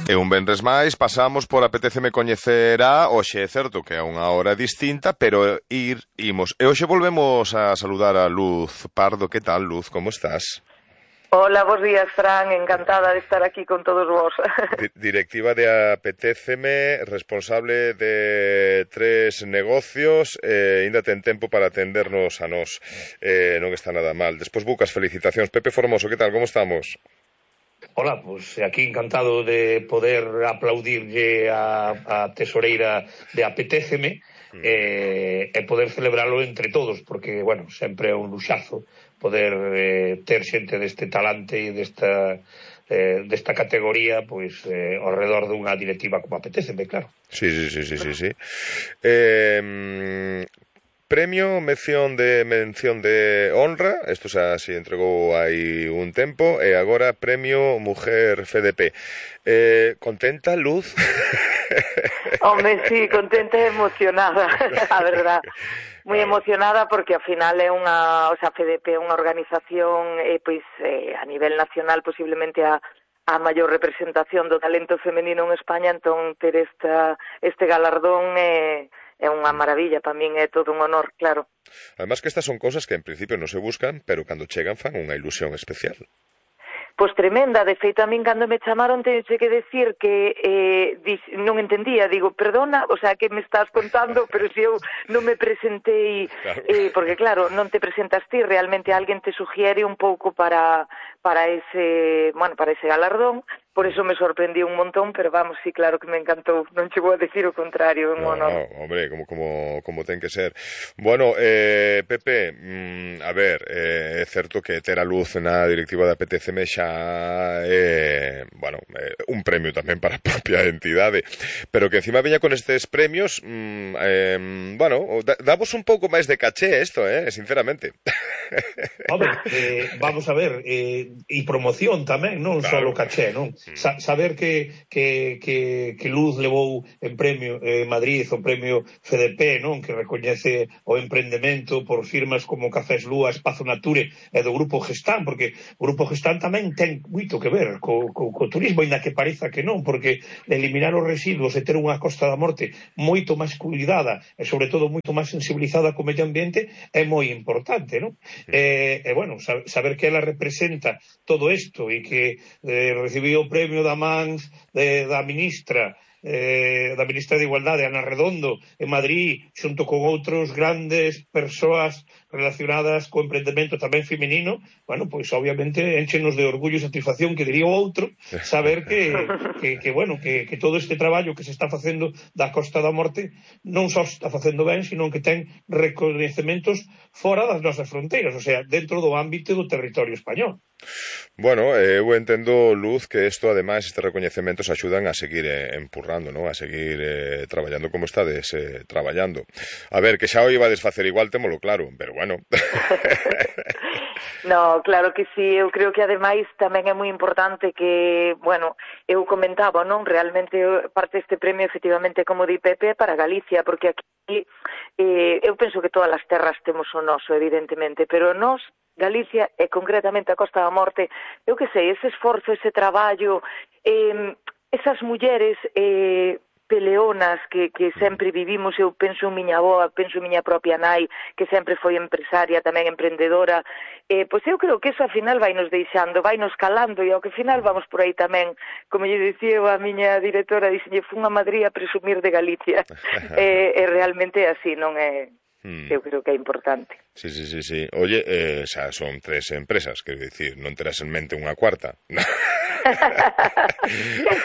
E un venres máis pasamos por Apetéceme coñecer a, hoxe é certo que é unha hora distinta, pero imos. E hoxe volvemos a saludar a Luz Pardo. Que tal, Luz? Como estás? Hola, bos días, Fran, encantada de estar aquí con todos vos. Directiva de Apetéceme, responsable de 3 negocios, ainda ten tempo para atendernos a nós, non está nada mal. Despois bucas, felicitacións. Pepe Formoso, que tal, como estamos? Hola, pues aquí encantado de poder aplaudirlle a tesoreira de Apetéceme e poder celebralo entre todos, porque, bueno, sempre é un luxazo poder ter xente deste talante e desta categoría pois ao redor dunha directiva como Apetéceme, claro. Sí. Premio, mención de honra, isto xa se entregou hai un tempo, e agora premio Mujer FDP. Contenta, Luz? Hombre, sí, contenta e emocionada, a verdad. Moi emocionada porque ao final é unha, o sea, FDP é unha organización pois a nivel nacional posiblemente a maior representación do talento femenino en España, entón ter este galardón é unha maravilla, para min é todo un honor, claro. Además que estas son cosas que en principio non se buscan, pero cando chegan fan unha ilusión especial. Pois tremenda, de feito a min cando me chamaron tenxe que decir que non entendía, digo, perdona, o sea, que me estás contando, pero se eu non me presentei, claro. Porque claro, non te presentas ti, realmente alguén te sugiere un pouco para ese galardón, por eso me sorprendiu un montón, pero vamos, sí, claro que me encantou, non chegou a decir o contrario, é un honor. Hombre, como ten que ser. Bueno, Pepe, a ver, é certo que ter a Luz na directiva da Apetéceme xa un premio tamén para a propia entidade, pero que encima veña con estes premios, damos un pouco máis de caché isto, sinceramente. Hombre, vamos a ver, e promoción tamén, non claro. Só o caché, non? Saber que Luz levou en premio Madrid o premio FDP, non? Que recoñece o emprendemento por firmas como Cafés Lúa, Espazo Nature e do Grupo Gestán, porque o Grupo Gestán tamén ten moito que ver co turismo, ainda que pareza que non, porque eliminar os residuos e ter unha Costa da Morte moito máis cuidada e sobre todo moito máis sensibilizada co medio ambiente é moi importante, non? Bueno, saber que ela representa todo isto e que recibiu o premio da mans da ministra de Igualdade, Ana Redondo, en Madrid, xunto con outros grandes persoas relacionadas co emprendemento tamén feminino, bueno, pois obviamente enchenos de orgullo e satisfacción, que diría o outro, saber que todo este traballo que se está facendo da Costa da Morte non só está facendo ben, sino que ten recoñecementos fora das nosas fronteiras, o sea, dentro do ámbito do territorio español. Bueno, eu entendo, Luz, que isto, ademais, estes recoñecementos axudan a seguir empurrando, non? A seguir traballando como estades traballando. A ver, que xa o ibades facer igual, témolo claro, pero bueno. No, claro que sí, eu creo que ademais tamén é moi importante que, bueno, eu comentaba, non? Realmente parte deste premio efectivamente, como di Pepe, para Galicia, porque aquí eu penso que todas as terras temos o noso, evidentemente, pero nós Galicia e concretamente a Costa da Morte, eu que sei, ese esforzo, ese traballo, esas mulleres peleonas que sempre vivimos, eu penso en miña avoa, penso en miña propia nai, que sempre foi empresaria, tamén emprendedora, pois eu creo que eso ao final vai nos deixando, vai nos calando, e ao que final vamos por aí tamén, como lle dicía a miña directora, dixenlle, fun a Madrid a presumir de Galicia, e realmente é así, non é... Eu creo que é importante. Sí. Oye, xa son 3 empresas, quero dicir, non terás en mente unha cuarta. Quen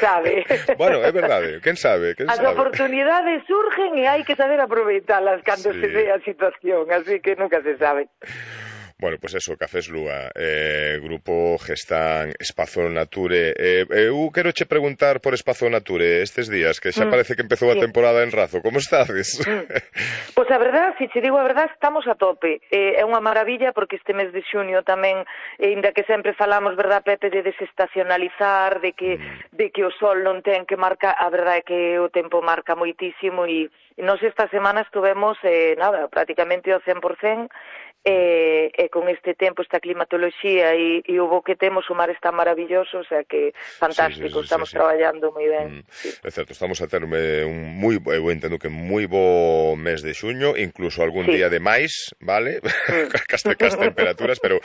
sabe? Bueno, é verdade, quen sabe? As oportunidades surgen e hai que saber aproveitalas cando se ve a situación, así que nunca se sabe. Bueno, pois eso, Cafés Lúa, Grupo Gestán, Espazo Nature. Eu quero che preguntar por Espazo Nature estes días, que xa parece que empezou a temporada en Razo. Como estades? Pois a verdad, se che digo a verdad, estamos a tope. É unha maravilla porque este mes de xunio tamén, ainda que sempre falamos, verdad, Pepe, de desestacionalizar, de que o sol non ten que marcar, a verdade é que o tempo marca moitísimo e nos esta semana estuvemos, prácticamente ao 100%, e con este tempo, esta climatoloxía e o bo que temos, o mar está maravilloso, o sea que fantástico, estamos traballando moi ben. É certo, estamos a ter eu entendo que moi bo mes de xuño, incluso algún día de máis, vale? Cas temperaturas, pero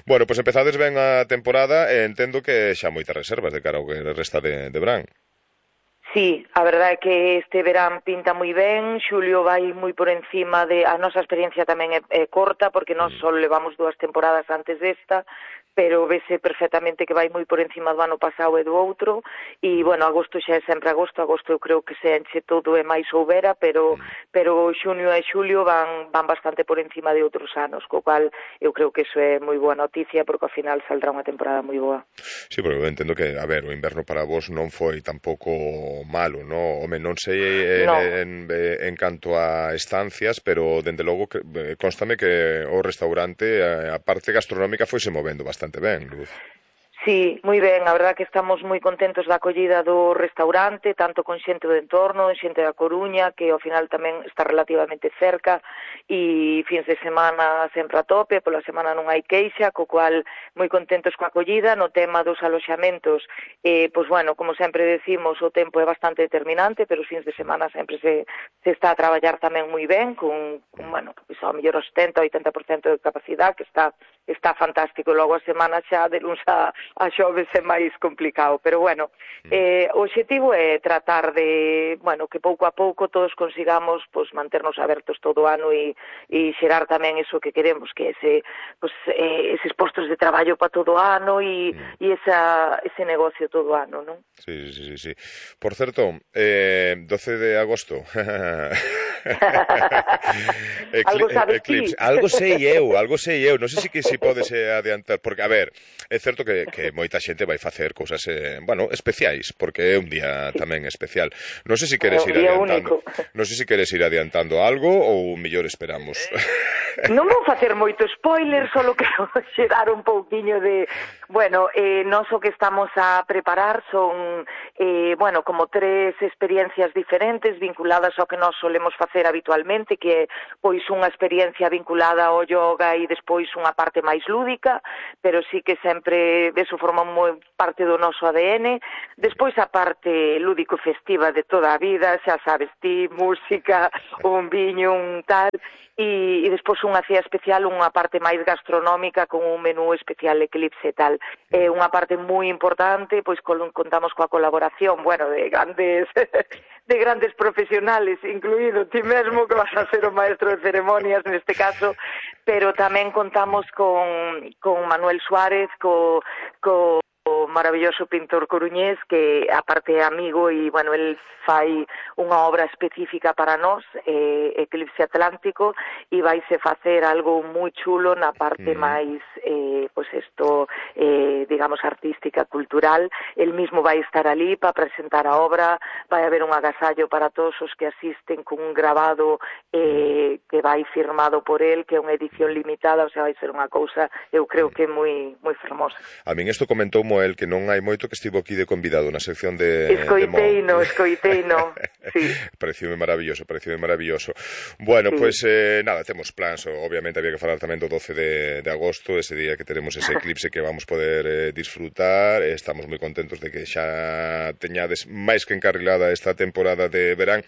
bueno, pois empezades ben a temporada e entendo que xa moitas reservas de cara ao que resta de verán. Sí, a verdade é que este verán pinta moi ben, xulio vai moi por encima a nosa experiencia tamén é corta, porque nós só levamos 2 temporadas antes desta, pero vese perfectamente que vai moi por encima do ano pasado e do outro, e, bueno, agosto xa é sempre agosto eu creo que se enche todo e máis houbera, pero xuño e xulio van bastante por encima de outros anos, co cual eu creo que iso é moi boa noticia, porque ao final saldrá unha temporada moi boa. Sí, porque eu entendo que, a ver, o inverno para vos non foi tampouco malo, no? Home, non sei en canto a estancias, pero, dende logo, constame que o restaurante, a parte gastronómica, foise movendo bastante ben, Luz. Sí, moi ben, a verdad que estamos moi contentos da acollida do restaurante, tanto con xente do entorno, xente da Coruña, que ao final tamén está relativamente cerca, e fins de semana sempre a tope, pola semana non hai queixa, co cual moi contentos coa acollida. No tema dos aloxamentos, pois bueno, como sempre decimos, o tempo é bastante determinante, pero os fins de semana sempre se está a traballar tamén moi ben, con bueno, pois ao mellor o 70-80% de capacidade, que está fantástico. Logo a semana xa de luns a xoves é máis complicado, pero bueno, o obxectivo é tratar de, bueno, que pouco a pouco todos consigamos pues, manternos abertos todo o ano e xerar tamén iso que queremos, que é eses postos de traballo para todo o ano e ese negocio todo o ano, non? Sí. Por certo, 12 de agosto Algo sabes ti? Algo sei eu, non sei se podes adiantar, porque, a ver, é certo que moita xente vai facer cousas, bueno, especiais, porque é un día tamén especial. Non sei se queres ir adiantando. Non sei se queres ir adiantando algo ou mellor esperamos. Non vou facer moito spoiler, só quero xerar un pouquiño de... Bueno, nós o que estamos a preparar son, bueno, como 3 experiencias diferentes vinculadas ao que nós solemos facer habitualmente, que é, pois, unha experiencia vinculada ao yoga e despois unha parte máis lúdica, pero sí que sempre eso forma moi parte do noso ADN. Despois a parte lúdico-festiva de toda a vida, xa sabes ti, música, un viño, un tal... E despois unha cea especial, unha parte máis gastronómica con un menú especial eclipse e tal. É unha parte moi importante, pois contamos coa colaboración, bueno, de grandes profesionales, incluído ti mesmo, que vas a ser o maestro de ceremonias neste caso, pero tamén contamos con Manuel Suárez, co maravilloso pintor coruñés, que aparte é amigo e, bueno, el fai unha obra específica para nós, Eclipse Atlántico, e vaise facer algo moi chulo na parte máis, pois isto, digamos, artística, cultural. El mismo vai estar ali para presentar a obra, vai haber un agasallo para todos os que asisten con un grabado que vai firmado por el, que é unha edición limitada, o sea, vai ser unha cousa, eu creo que moi fermosa. A min isto comentou el que non hai moito que estivo aquí de convidado na sección de Escoiteino, sí. Pareceume maravilloso. Bueno, sí. Pois nada, temos plans, obviamente había que falar tamén do 12 de agosto, ese día que teremos ese eclipse que vamos poder disfrutar. Estamos moi contentos de que xa teñades máis que encarrilada esta temporada de verán.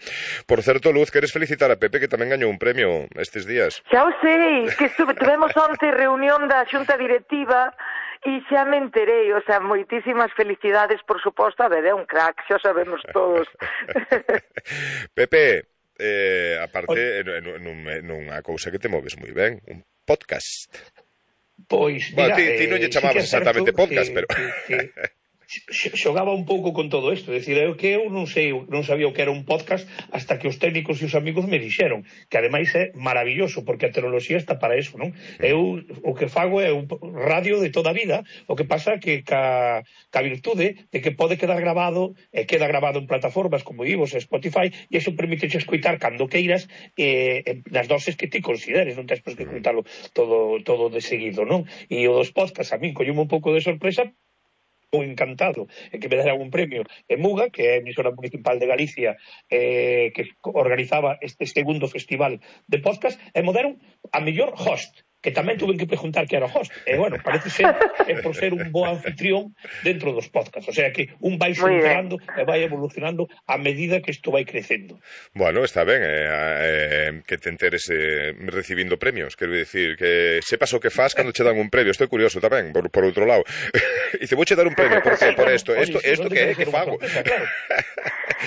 Por certo, Luz, queres felicitar a Pepe, que tamén gañou un premio estes días? Xa o sei, que tuvemos onte reunión da xunta directiva e xa me enterei, o sea, moitísimas felicidades, por suposto, a ver, é un crack, xa sabemos todos. Pepe, aparte, nunha cousa que te moves moi ben, un podcast. Pois, mira, ti non lle chamabas exactamente podcast, pero... xogaba un pouco con todo isto, decir, eu non sabía o que era un podcast hasta que os técnicos e os amigos me dixeron, que ademais é maravilloso, porque a tecnoloxía está para eso, non? Eu o que fago é un radio de toda a vida, o que pasa que ca virtude de que pode quedar grabado, e queda grabado en plataformas como Ivos e Spotify, e iso permite escoitar cando queiras nas doses que ti consideres, non tens por que escoitalo todo de seguido, non? E o dos podcasts a min colleume un pouco de sorpresa, moi encantado que me dera un premio en Muga, que é a emisora municipal de Galicia, que organizaba este segundo festival de podcast, e me deron a mellor host. que tamén tuve que preguntar que era o host. E, bueno, parece ser por ser un bo anfitrión dentro dos podcasts. O sea que un vai entrando e vai evolucionando a medida que isto vai crecendo. Bueno, está ben que te enteres recibindo premios. Quero dicir, que sepas o que fas cando che dan un premio. Isto é curioso tamén, por outro lado. E te vouche dar un premio, por isto. Isto que é que fago?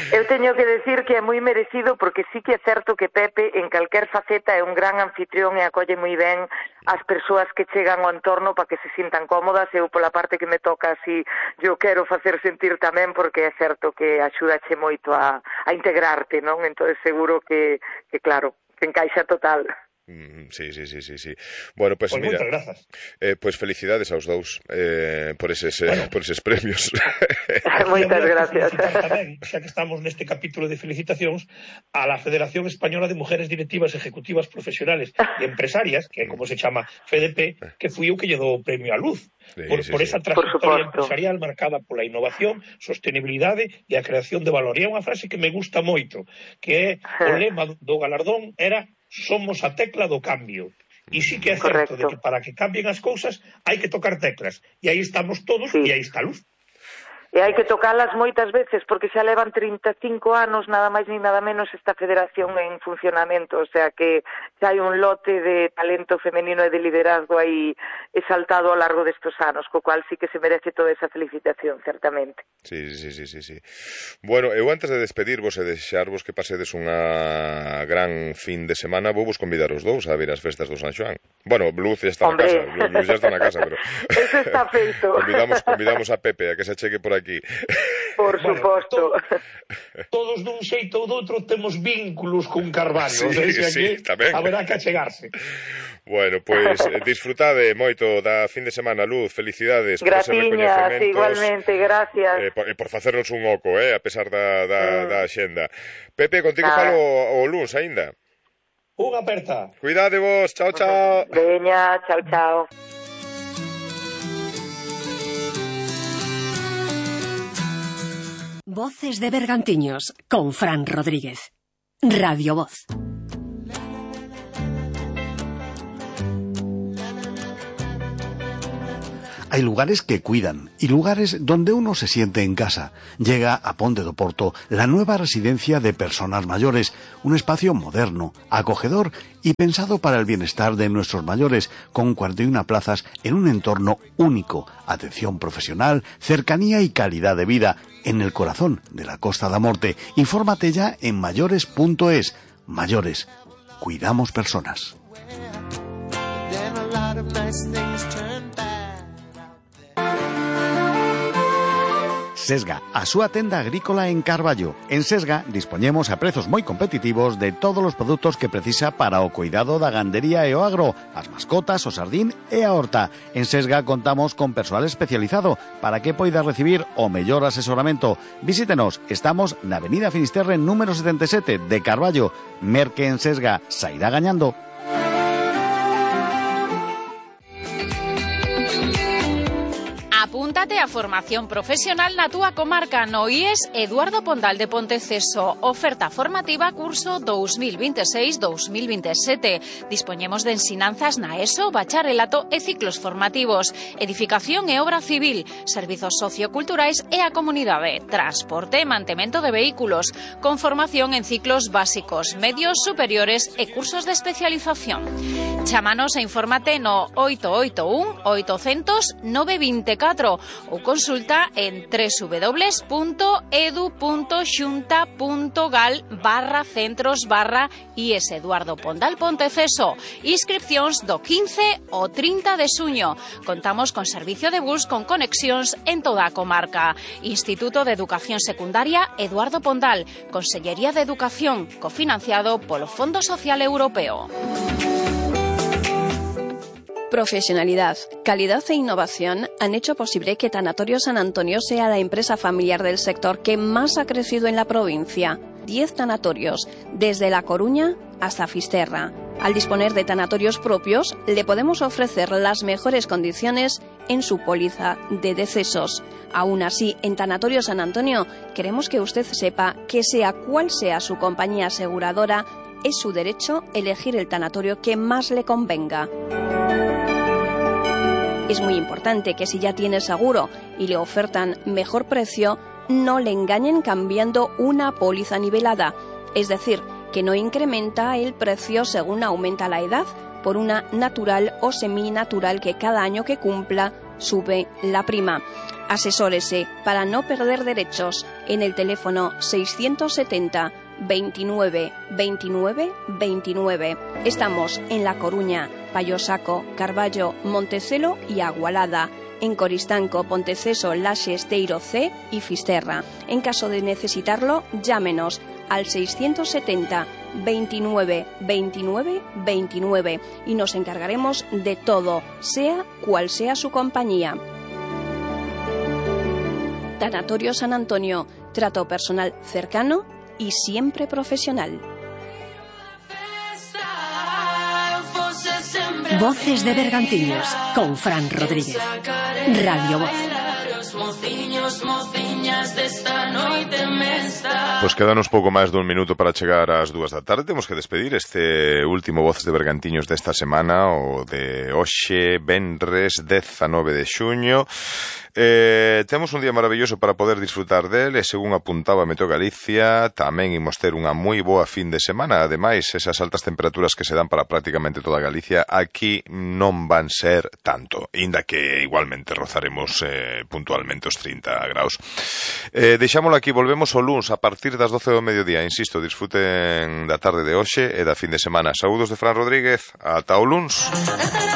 Eu teño que decir que é moi merecido, porque sí que é certo que Pepe en calquer faceta é un gran anfitrión e acolle moi ben as persoas que chegan ao entorno para que se sintan cómodas. Eu pola parte que me toca así eu quero facer sentir tamén, porque é certo que axúdache moito a integrarte, non? Entón seguro que claro, que encaixa total. Sí. Bueno, pues mira, moitas grazas. Pues felicidades aos dous por eses premios. Moitas gracias. Tamén, xa que estamos neste capítulo de felicitacións, a la Federación Española de Mujeres Directivas Ejecutivas Profesionales e Empresarias, que é como se chama FEDEP, que fui eu que lle dou o premio á luz por esa trayectoria empresarial marcada pola innovación, sostenibilidade e a creación de valor. E é unha frase que me gusta moito, que é o lema do galardón era: somos a tecla do cambio. E sí que é certo de que para que cambien as cousas hai que tocar teclas. E aí estamos todos, e aí está a luz. E hai que tocalas moitas veces, porque xa levan 35 anos, nada máis ni nada menos, esta federación en funcionamento. O sea que xa hai un lote de talento femenino e de liderazgo aí exaltado ao largo destes anos, co cual sí que se merece toda esa felicitación, certamente. Sí. Bueno, eu antes de despedirvos e deixarvos que pasedes unha gran fin de semana, vou vos convidar os dous a vir as festas do San Xoán. Bueno, Luz ya está na casa, Luz ya está na casa, pero eso está feito. Convidamos a Pepe a que se cheque por aquí. Por suposto. Todos dun xeito ou doutro temos vínculos con Carballo, sí, tamén. Haberá que achegarse. Bueno, pois disfrutade moito da fin de semana, Luz, felicidades. Gratiñas, igualmente, gracias. Por facernos un oco, a pesar da xenda. Pepe, contigo falo o luns aínda. Unha aperta. Cuidade vos, chao. Veña, chao. Voces de Bergantiños con Fran Rodríguez. Radio Voz. Hay lugares que cuidan y lugares donde uno se siente en casa. Llega a Ponte do Porto la nueva residencia de personas mayores, un espacio moderno, acogedor y pensado para el bienestar de nuestros mayores, con 41 plazas en un entorno único, atención profesional, cercanía y calidad de vida, en el corazón de la Costa da Morte. Infórmate ya en mayores.es. Mayores, cuidamos personas. Sesga, a súa tenda agrícola en Carballo. En Sesga dispoñemos a prezos moi competitivos de todos os produtos que precisa para o cuidado da gandería e o agro, as mascotas, o sardín e a horta. En Sesga contamos con persoal especializado para que poida recibir o mellor asesoramento. Visítenos, estamos na Avenida Finisterre número 77 de Carballo. Merque en Sesga, sairá gañando. Apúntate a formación profesional na túa comarca no IES Eduardo Pondal de Ponteceso. Oferta formativa curso 2026-2027. Dispoñemos de ensinanzas na ESO, bacharelato e ciclos formativos, edificación e obra civil, servizos socioculturais e a comunidade, transporte e mantemento de vehículos, con formación en ciclos básicos, medios, superiores e cursos de especialización. Chámanos e infórmate no 881 800 924 ou consulta en www.edu.xunta.gal/centros/IES Eduardo Pondal Ponteceso. Inscripcións do 15 ao 30 de xuño. Contamos con servicio de bus con conexións en toda a comarca. Instituto de Educación Secundaria Eduardo Pondal. Consellería de Educación, cofinanciado polo Fondo Social Europeo. Profesionalidad, calidad e innovación han hecho posible que Tanatorio San Antonio sea la empresa familiar del sector que más ha crecido en la provincia. 10 tanatorios, desde La Coruña hasta Fisterra. Al disponer de tanatorios propios, le podemos ofrecer las mejores condiciones en su póliza de decesos. Aún así, en Tanatorio San Antonio, queremos que usted sepa que sea cual sea su compañía aseguradora, es su derecho elegir el tanatorio que más le convenga. Es muy importante que si ya tiene seguro y le ofertan mejor precio, no le engañen cambiando una póliza nivelada, es decir, que no incrementa el precio según aumenta la edad, por una natural o seminatural que cada año que cumpla sube la prima. Asesórese para no perder derechos en el teléfono 670 29 29 29. Estamos en La Coruña, Payosaco, Carballo, Montecelo y Agualada. En Coristanco, Ponteceso, Laxe, Esteiro C y Fisterra. En caso de necesitarlo, llámenos al 670 29 29 29 y nos encargaremos de todo, sea cual sea su compañía. Tanatorio San Antonio, trato personal cercano y siempre profesional. Voces de Bergantiños con Fran Rodríguez. Radio Voz. Pois quedanos pouco máis dun minuto para chegar ás 2 da tarde. Temos que despedir este último Voces de Bergantiños desta semana, o de hoxe, venres 19 de xuño. Temos un día maravilloso para poder disfrutar del, e según apuntaba Meteo Galicia, tamén imos ter unha moi boa fin de semana. Ademais, esas altas temperaturas que se dan para prácticamente toda Galicia aquí non van ser tanto, inda que igualmente rozaremos puntualmente os 30 graus. Deixámoslo aquí, volvemos o luns a partir das 12 do mediodía. Insisto, disfruten da tarde de hoxe e da fin de semana. Saúdos de Fran Rodríguez, ata o luns.